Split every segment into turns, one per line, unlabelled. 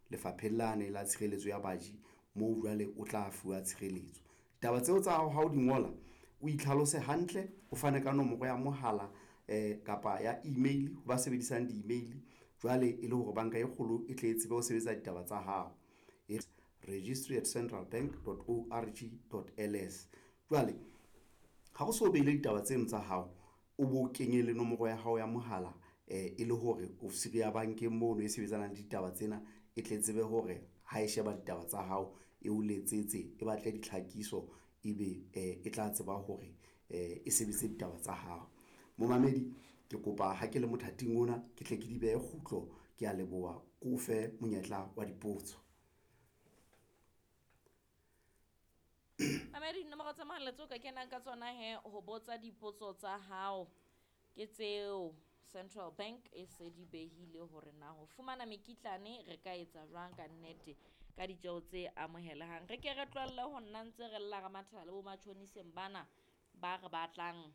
lefapheng lane la tshireletso ya baji, moo jwale o tla fuwa tshireletso. Ditaba tseo tsa hao ha o di ngola, o itlhalose hantle, o fane ka nomoro ya mohala kapa ya email ho ba sebedisang di-email. Jwale e le hore banka e kgolo e tle e tsebe ho sebetsa ditaba tsa hao. E registry at centralbank dot org dot ls. Jwale ha o so behile ditaba tseno tsa hao, o bo kenye le nomoro ya hao ya mohala, e le hore ofisiri ya bankeng mono e sebetsanang le ditaba tsena e tle tsebe hore ha e sheba ditaba tsa hao e o letsetse, e batle ditlhakiso, ebe e tla tseba hore e sebetse ditaba tsa hao. Momamedi ke kopa ha ke le mothating ona, ke tle ke di behe kgutlo. Ke a leboha, ke o fe monyetla wa dipotso.
Mamedi, dinomoro tsa mohala tseo ka kenang ka tsona he ho botsa dipotso tsa hao ke tseo Central Bank e se di behile hore na ho fumana mekitlane re ka etsa jwang ka nnete ka ditjeho tse amohelehang. Re ke re tlohelle ho nna ntse re lla re mathana le bo matjhoniseng bana ba re batlang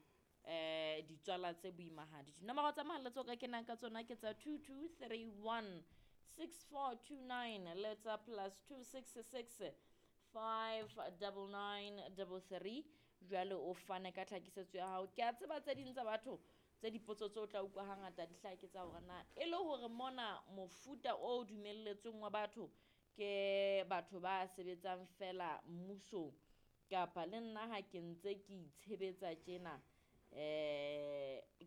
ditswala tse boimahadi. Dinomoro tsa mohala tseo ka kenang ka tsona ke tsa 2231 6429 le tsa plus 266 599 33. Jwale o fane ka tlhakisetso ya hao. Ke a tseba tse ding tsa batho tse dipotso tseo tla utlwa hangata di hlaha ke tsa hore na e le hore mona mofuta o dumelletsweng wa batho ke batho ba sebetsang fela mmusong kapa le nna ha ke ntse ke itshebetsa tjena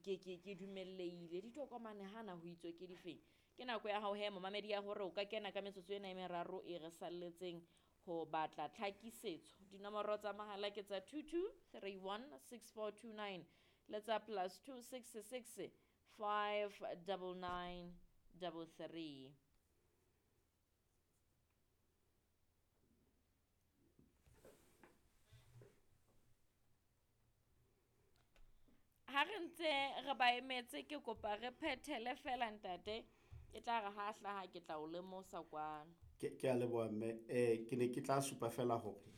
ke dumellehile. Ditokomane hana ho itswe ke difeng? Ke nako ya hao he momamedi ya hore o ka kena ka metsotso ena e meraro e re salletseng ho batla tlhakisetso. Dinomoro tsa mohala ke tsa 2231 6429 le tsa plus 266 599 33. Ha re ntse re ba emetse, ke kopa re phethele fela ntate, e tla re ha hlaha ke tla o lemosa kwano.
Ke a leboha mme. Ke ne ke tla supa fela hore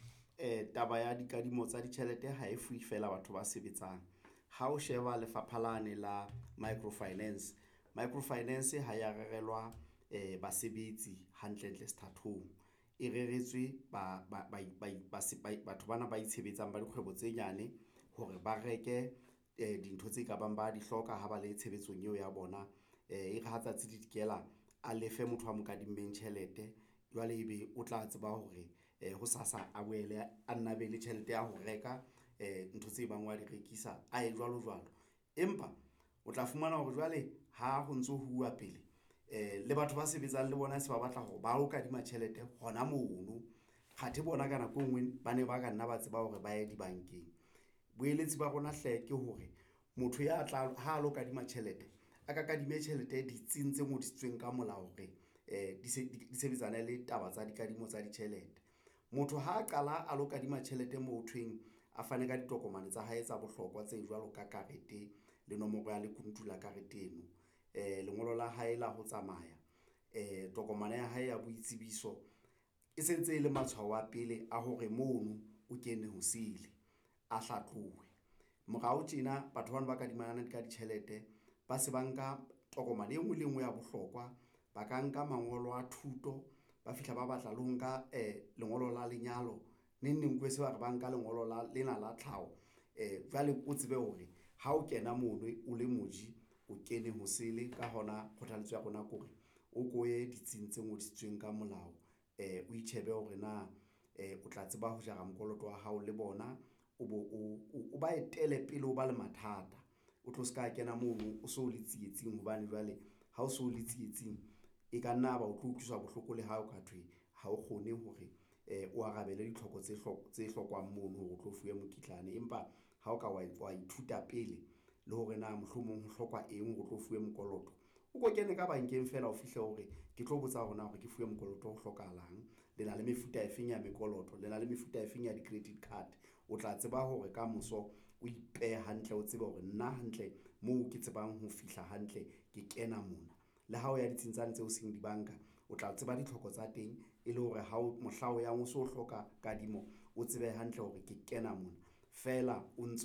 taba ya dikadimo tsa ditjhelete ha e fuwe fela batho ba sebetsang. Ha o sheba lefapha lane la microfinance, microfinance ha ya rerelwa basebetsi hantlentle sethathong, e reretswe batho bana ba itshebetsang ba dikgwebo tse nyane hore ba reke dintho tse ka bang ba di hloka ha ba le tshebetsong eo ya bona. E re ha tsatsi le dikela a lefe motho a mo kadimmeng tjhelete, jwale ebe o tla tseba hore hosasa a boele a nna be le tjhelete ya ho reka ntho tse bang wa di rekisa, a ye jwalo jwalo. Empa o tla fumana hore jwale ha ho ntso huwa pele le batho ba sebetsang le bona se ba batla hore ba o kadima tjhelete hona mono, kgathe bona ka nako e nngwe ba ne ba ka nna ba tseba hore ba ye dibankeng. Boeletsi ba rona hle ke hore motho ya tla ha lo kadima tjhelete, a ka kadime tjhelete ditsing tse ngodisitsweng ka molao hore di sebetsane le taba tsa dikadimo tsa ditjhelete. Motho ha a qala a lo kadima tjhelete moo ho thweng a fane ka ditokomane tsa hae tsa bohlokwa tse jwalo ka karete le nomoro ya lekunutu la karete eno, lengolo la hae la ho tsamaya, tokomane ya hae ya boitsebiso, e sentse e le matshwao a pele a hore mono o kene ho sele, a hlatluwe. Morao tjena batho bana ba kadimana ka ditjhelete ba se ba nka tokomane e nngwe le e nngwe ya bohlokwa, ba ka nka mangolo a thuto, ba fihla ba batla le ho nka lengolo la lenyalo, neng neng se ba re ba nka lengolo la lena la tlhaho. Jwale o tsebe hore ha o kena mono o le moji, o kene ho sele. Ka hona kgothaletso ya rona ke hore o ko ye ditsing tse ngodisitsweng ka molao, o itjhebe hore na o tla tseba ho jara mokoloto wa hao le bona, o bo o ba etele pele o ba le mathata, o tlo ska kena mono o so le tsietsing, hobane jwale ha o so le tsietsing e ka nna ba o tlo utlwiswa bohloko le ha o ka thwe ha o kgone hore o arabele ditlhoko tse hlokwang mono hore o tlo fuwe mokitlane. Empa ha o ka wa ithuta pele le hore na mohlomong ho hlokwa eng hore o tlo fuwe mokoloto, o ko kene ka bankeng fela o fihle hore ke tlo botsa hore na hore ke fuwe mokoloto ho hlokahalang, le na le mefuta e feng ya mekoloto, le na le mefuta e feng ya di-credit card. O tla tseba hore kamoso o ipehe hantle, o tsebe hore nna hantle moo ke tsebang ho fihla hantle ke kena mona. Le ha o ya ditsing tsane tseo seng dibanka, o tla tseba ditlhoko tsa teng e le hore ha o mohla o yang o so hloka kadimo, o tsebe hantle hore ke kena mona fela o ntso.